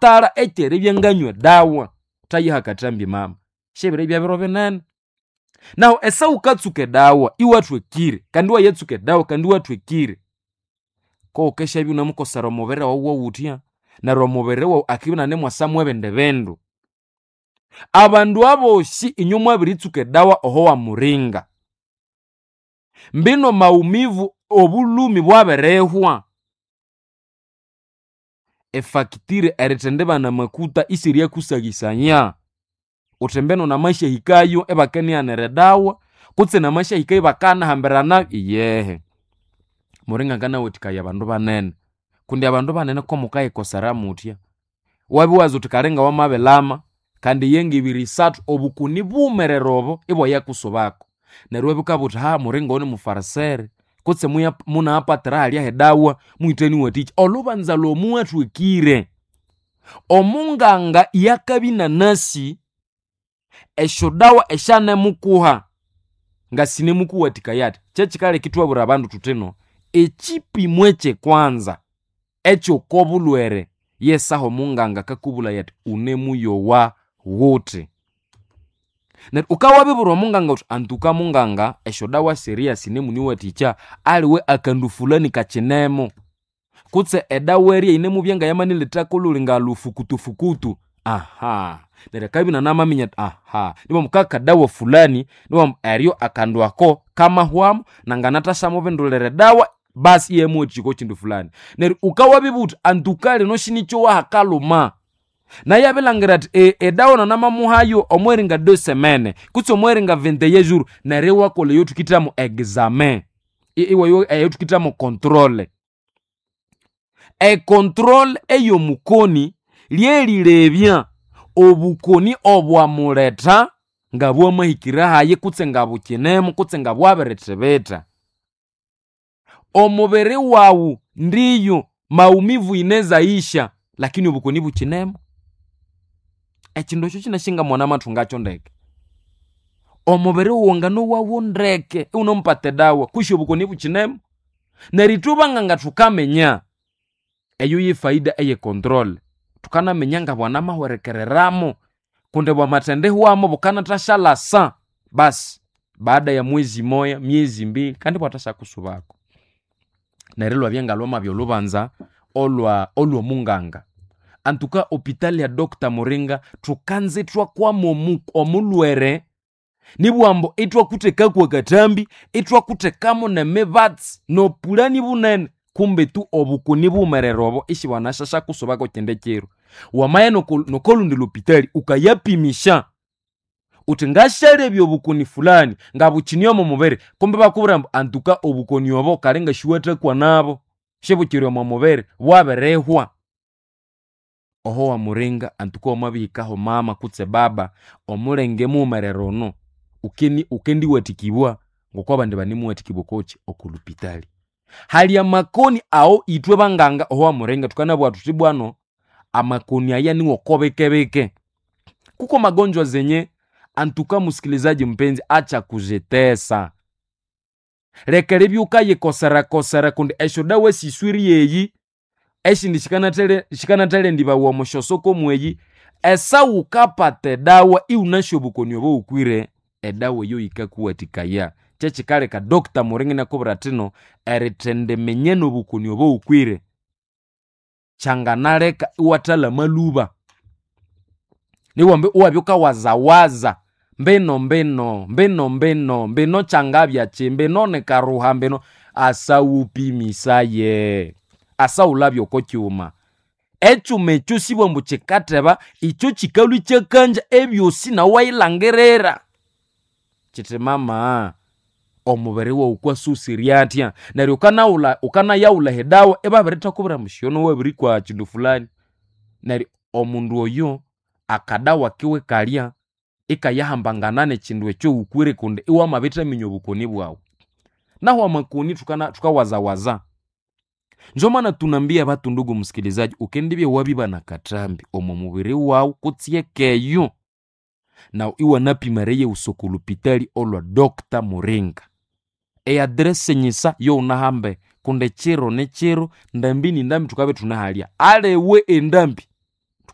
Ngatala ekyeribya nganywa edawa. Thayiha akathambi mama. Syebiribya biro binene. Nahu esa wukatsuka edawa iwathwekire kandi iwayatsuka edawa kandi iwathwekire, koghukeshabya iwunamukosera omubiri wawu wawuthya, neryo omubiri wawu akibya inanemwasamu ebindi bindu. Abandu abosi inywe mwabiritsuka edawa oho wamuringa, mbino maumivu obulhumi bwabirihwa. Efacture erithendibana amakuta isiryakusaghisaya. Uthi mbino namasyahikayo ibakanighanira edawa kutse namasyahikayo ibakanahambirana, iyehe. Muringa nganawathikaya abandu banene kundi abandu banene komukayikosera muthya, wabya iwaza uthi kali ngawamabilama kandi yengibiri isathu obukoni bughumerere obo ibwayakusubako. Neryo iwabya wukabugha wuthi ha muringa oyo nimufarisere kutse munayapatira halya hedawa mughitheniwathikya. Olhubanza lwomuwathwekire, omunganga iyakabya inanasi esyodawa esyanemukuha ngasinemukuwathikaya athi. Kyekikaleka ithwabwira abandu thuthino ekyipimo ekyekwanza ekyokobulhwere yesaha omunganga akakubulaya athi unemuyowa ghuthi. Neryo wukabya wabibwira omunganga wuthi antuka munganga esyodawa siriya sinemuniwathikya aliwe akandu fulani kakyinemo kutse edawa eriya yinemubya ngayamanilethako olhuli ngalufukutufukutu, aha neryo akabya inanamaminya athi aha nibwambu kakadawa fulani nibwambu eryo akandu ako kamahwamu nanganathashamubindulira edawa basi iyamuwathikya oko kindu fulani. Neryo wukawabibugha wuthi antuka lino sinikyowa hakalhuma, nayo abilhangira athi edawa nanamamuhayo omweringa deux semaines kutse omweringa 21 jours neryo iwakolha eyothukithamu examen, eyothukithamu controle. Econtrole ey'omukoni ly'erilebya obukoni obwamuletha ngabwamahikire hayi kutse ngabukyinemu kutse ngabwabirithibitha. Omubiri wawu ndiyo maumivu inezaisha lakini obukoni bukyinemu. Ekindu ekyo kyinasi mwanamathungakyo ndeke. Omubiri wawu nganowawo ndeke iwunemupata edawa kwishi obukoni bukyinemu. Neryo ithwe banganga thukaminya eyo ye faida eye controle. Thukanaminya ngabwanamahwerekereramo kundi bwamathendihwamo bukanathashalasa basi baada ya mwezi moya, myezi mbili kandi ibwathasyakusubako. Neryo ilwabya ngalwamabya olhubanza olhwomunganga. Antuka hopitali ya Doctor Muringa thukanza ithwakwama omulhwere nibughambu ithwakuthekaku akathambi, ithwakuthekamu nemibatsi nopulani bunene kumbe tu obukoni bughumerere obo isibwanasyakusubako kyindi kiro. Wamaya nokolundi lhopitali wukayapimisya wuthi ngasyalebya obukoni fulani ngabukyine omo mubiri kumbe ibakubwira ambu antuka obukoni obo kali ngasiwathakwa nabo, sibukyiri omo mubiri bwabirihwa. Oho wamuringa antuka wamabihikaho mama kutse baba omulenge mughumerere ono wukendiwathikibwa ngoko abandi banemuwathikibwa okokyi okolhupitali. Hali amakoni awo ithwe banganga oho wamuringa thukanabugha thuthi bwano amakoni aya niwoko bikebike. Kuko magonjwa zenye antuka musikilizaji mpenzi acha kuzitesa. Leka eribya wukayikoserakosera kundi esyodawa siswiri eyi esindi sikanathalhendibawa omo syosoko mweyi. Esa wukapata edawa iwunasi obukoni obo wukwire, edawa eyo yikakuwathikaya. Kyekikaleka Doctor Muringa inakubwira athino erithendiminya nobukoni obo wukwire kyanganaleka iwathalama lhuba. Nibughambu iwabya wukawazawaza mbino mbino mbino mbino mbino kyangabya mbino nikaruha mbino asa wupimisaye, asa wulabye oko kyuma. Ekyuma ekyo sibughambu ambu kyikatheba, ikyo kyikalhwa ikyakangya ebyosi nawu iwayilhangirira. Kyithi mama omubiri wawu kwasusirie athya neryo wukanawulha wukanayaghulha edawa ibabirithakubwira ambu syono wabirikwa kyindu fulani. Neryo omundu oyo akadawa kiwe kalya ikayahambangana nekyindu ekyo wukwire kundi iwamabithaminya obukoni bwawu. Nahu amakoni thukawazawaza. Njo maana tunambia batu ndugu msikilizaji, ukendibya wabibana akathambi omo mubiri wawu kutse ekeyo nawu iwanapima eriyighusa oko lhupitali olwa Doctor Muringa. Eaddress nyisa yowunahambe kundi kyiro ni kyiro, ndambi ni ndambi thukabya ithunehalya. Aliwe endambi.